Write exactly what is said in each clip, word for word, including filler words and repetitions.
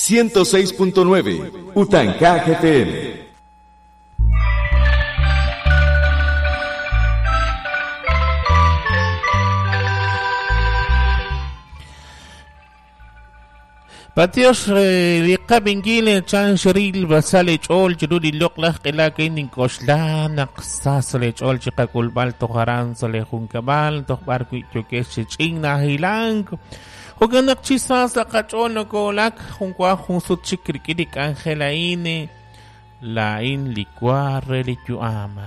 ciento seis punto nueve Utanka F M. Patios liqab'inkil chan xril basale ch'ol chiru li loq'laj q'ilak ninkoxla naq sas le ch'ol chiqak'ulb'al tojaran sa le junkab'al toj b'ar wi' yokex chi ch'in najilank jo'kan naq chi sas qach'ol nokoolak jun wa jun sut chik rik'in li k'anjel a'in la'in li wa re li yu'am.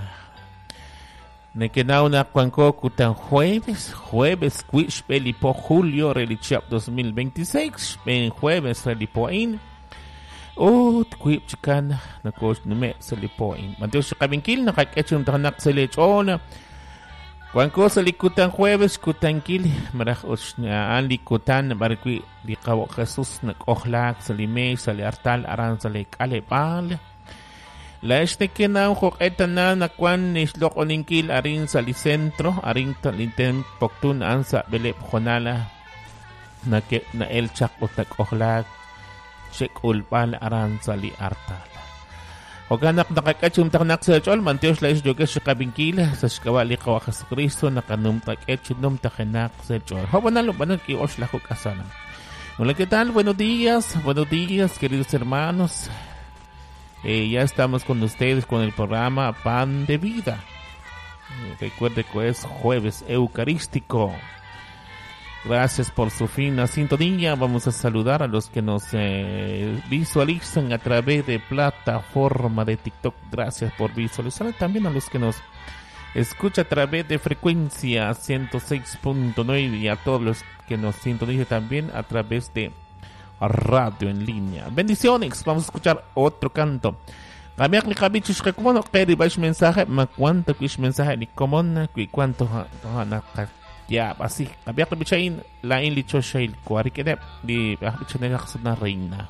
Nekenaw naq wanko kutan jueves, jueves wi' xb'e li po julio re li chihab' dos mil veintiséis, xb'een jueves re li po a'in. Ut wiib' chikan nakoxnume' sa' li po a'in. B'antiox chiqab'inkil naqak'e chi numtajenaq sa' li ch'ool. Wanko sa' li kutan jueves kutankil maraj a'an li kutan b'ar wi' li qawa' Jesus nak'ojlaak sa' li meex sa' li artal aran sa' li k'aleb'aal. La exnekenaw joq'etana nakwan nixloq'oninkil arin sa' li centro arin linten poktun an sa' beleb jonala nake nael chaq ut nak'ojlaak xek'ulb'al aran sa' li artal. Jo'kan naq naqak'ach umtaqnaq sa' ch'ol mantiox la ixyokex xiqab'inkil sa' xk'ab'a' li qawa' Jesucristo naqanumtak'e chinumtajenaq sa' ch'ol. Jo'banal ub'anal ki'ox laju k'asana. Hola, ¿qué tal? Buenos días, buenos días, queridos hermanos. Eh, ya estamos con ustedes con el programa Pan de Vida. Eh, recuerde que es jueves eucarístico. Gracias por su fina sintonía. Vamos a saludar a los que nos eh, visualizan a través de plataforma de TikTok. Gracias por visualizar. También a los que nos escuchan a través de frecuencia ciento seis punto nueve y a todos los que nos sintonizan también a través de radio en línea. Bendiciones. Vamos a escuchar otro canto. Kamiak li kabichis kakumono keri bash mensaje ma cuánto kish mensaje ni komon kui cuánto ha ya así. Kamiak li bichain la in li choshail kuarikede li bichain na reina.